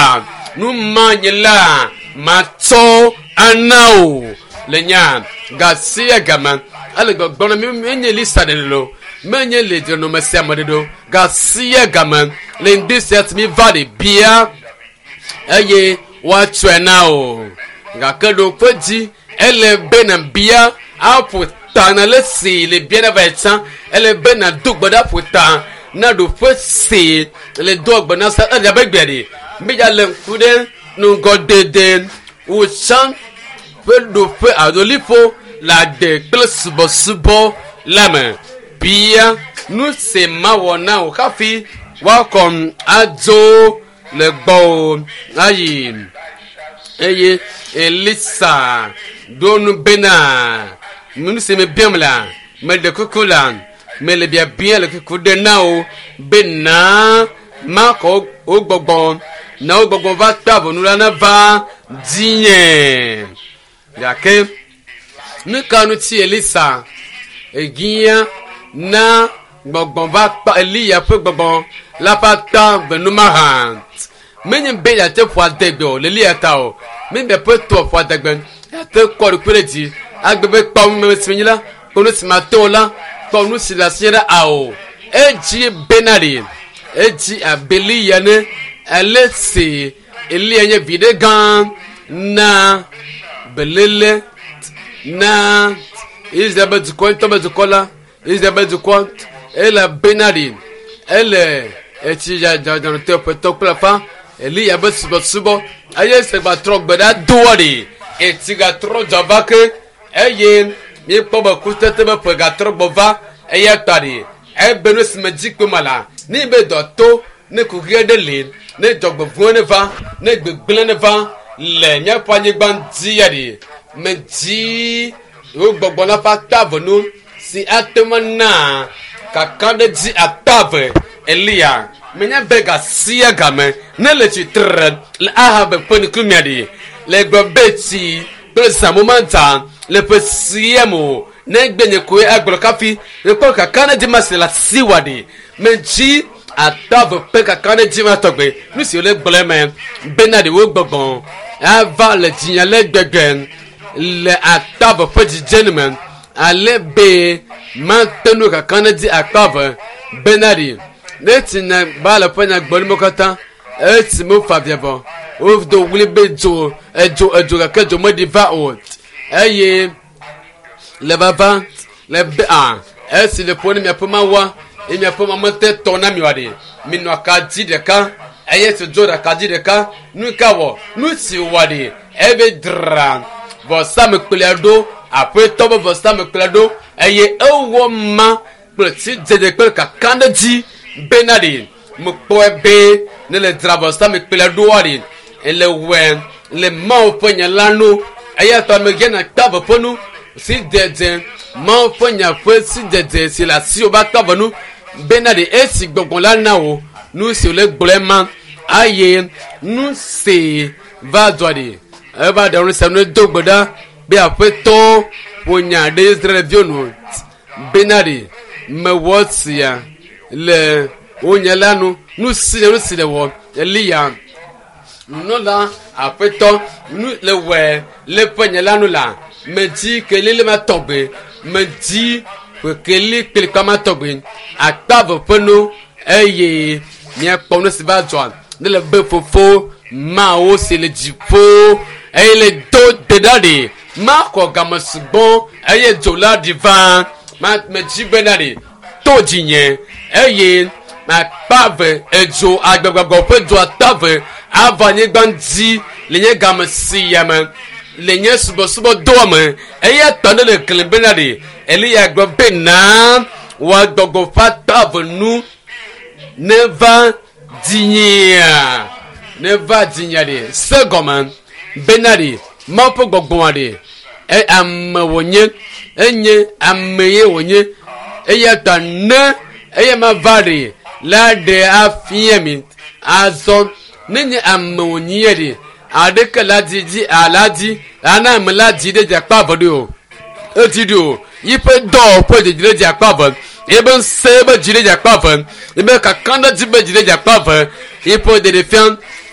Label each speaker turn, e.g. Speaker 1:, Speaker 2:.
Speaker 1: la nu ma nye la matsɔ ana o le nya gasia game ele gbɔgblɔm na mi menye Elisa ɖeɖe lo menye le dzenɔme sia me ɖeɖe o gasia game le ŋdi sia si mi va ɖe bia eye woatsɔe na o gake ɖoƒe dzi ele be na bia aƒo ta na le si le bia na va yi tsã ele be na do gbe ɖe aƒo ta na ɖoƒe si le do gbe na sa ele abe gbea ɖe mi ya le ŋku ɖe ŋgɔdede wòtsã ƒe ɖoƒe alo liƒo le agbe kple subɔsubɔ la me bia nu si mawɔ na wò hafi woakɔm adzo le gbɔwò ayi eye Elisa ɖo nu bena nu si me biam la meɖe kuku la mele biabia le kuku ɖe na wò bena makɔ wo gbɔgbɔ na wo gbɔgbɔ va kpe avɔnu la nava dzinye gake nu ka ŋuti Elisa egia na gbɔgbɔ va kpa Eliya ƒe gbɔgbɔ la ƒe ata venuma hã menye be yeate ƒo adegbe o le Eliya ta o menye be ƒe tɔ ƒo adegbe yeate kɔ ɖokui ɖe dzi agbe be kpɔ nu si menye la kpɔ nu si mate o la kpɔ nu si le asi ɖe ao edzi bena ɖe edzi abe Eliya ne ale si Eliya nye viɖe gã na belele na Israel be dukɔ ŋutɔ be dukɔ la Israel be dukɔ ele bena ɖi ele etsi dzadzadzɔtɔ ƒetɔ kple afa Eliya be subɔsubɔ eye segbatrɔ gbe ɖa doa ɖi etsi gatrɔ dzɔ va ke eye míekpɔ be kutete be ƒe gatrɔ gbɔ va eya ta ɖi ebe nu si me dzi kpe ma la ne be dɔ to ne kuxi aɖe li ne dzɔgbevɔ̃e ne va ne gbegblẽ ne va le míaƒe anyigba dzi ya ɖi me dzi wo gbɔgbɔ la ƒe ata ve nu si ate ŋu ana kakaɖedzi ata ve Eliya menye be gasia game ne le tsitre le Ahab ƒe ŋkumea ɖi le gblɔ be tsi kple zãmu ma dza le ƒe sia me o ne gbe nye koe agblɔ kafi ekpɔ kakaɖedzi ma si le asi wa ɖi me dzi ata ve ƒe kakaɖedzi ma tɔgbe nu si wole gblɔ me bena ɖewo gbɔgbɔ ava le dzinya le gbegbe le ata ve ƒe dzidzenu me ale be mate nu kakaɖedzi akpa ve bena ɖi ne tsi nya ba le ƒe nyagbɔɖi katã esi me fa via vɔ wodo wli be dzo edzo edzo gake dzo meɖi va o eye le vava le be a esi le ƒo ne miaƒe mawoa eye miaƒe ma mete tɔ na mi wa ɖe minɔ akadzi ɖeka eye si dzo ɖe akadzi ɖeka nu ka wɔ nu si wɔ ɖe ebe dra vɔsamekplia ɖo aƒetɔ be vɔsamekplia ɖo eye ewɔ ma kple tsidzedze kple kakaɖedzi bena ɖe mekpɔe be ne le dzra vɔsamekplia ɖoa ɖe ele wɔe le Mawu ƒe nya la nu eya ta megena kpe ave ƒe nu si dzedze Mawu ƒe nya ƒe si dzedze si le asiwò be akpe ave nu bena ɖe esi gbɔgbɔ la na wò nu si wòle gblɔe ma eye nu si va dzɔ ɖi eva ɖe nu sia nu do gbe ɖa be aƒetɔ ƒo nya ɖe Israelviwo nu bena ɖe mewɔ sia le wo nya la nu nu si nu si le wɔ Eliya nunɔla aƒetɔ nu le wɔe le ƒe nya la nu la medzi keli le ma tɔgbe medzi ƒe keli kplikpa ma tɔgbe akpa ve ƒe nu eye míakpɔ nu si va dzɔ ne le be fofo mawo si le dziƒo eye le do gbe ɖa ɖi makɔ game sugbɔ eye dzo la ɖi va ma medzi bena ɖi to dzinye eye akpa ve edzo agbegbɔgbɔ ƒe dzo ata ve ava anyigba dzi le nye game sia me le nye subɔsubɔdɔa me eya tɔ ne le gli bena ɖi Eliya gblɔ be na wòagbɔgbɔ ƒe ata ve nu neva dzinyea neva dzinyea ɖi se gɔme bena ɖi Mawu ƒe gbɔgbɔa ɖi e ame wònye enye ame ye wònye eya ta ne eya ma va ɖi la ɖe afia mi azɔ ne nye ame wònye ɖi aɖeke la dzi dzi ala dzi ana ame la dzi ɖe dzi akpa eve ɖi o edzi ɖi o yiƒe dɔ ƒe dzedzi ɖe dzi akpa eve ebe ŋusẽ be dzi ɖe dzi akpa eve ebe kakaɖedzi be dzi ɖe dzi akpa eve yiƒe ɖeɖefia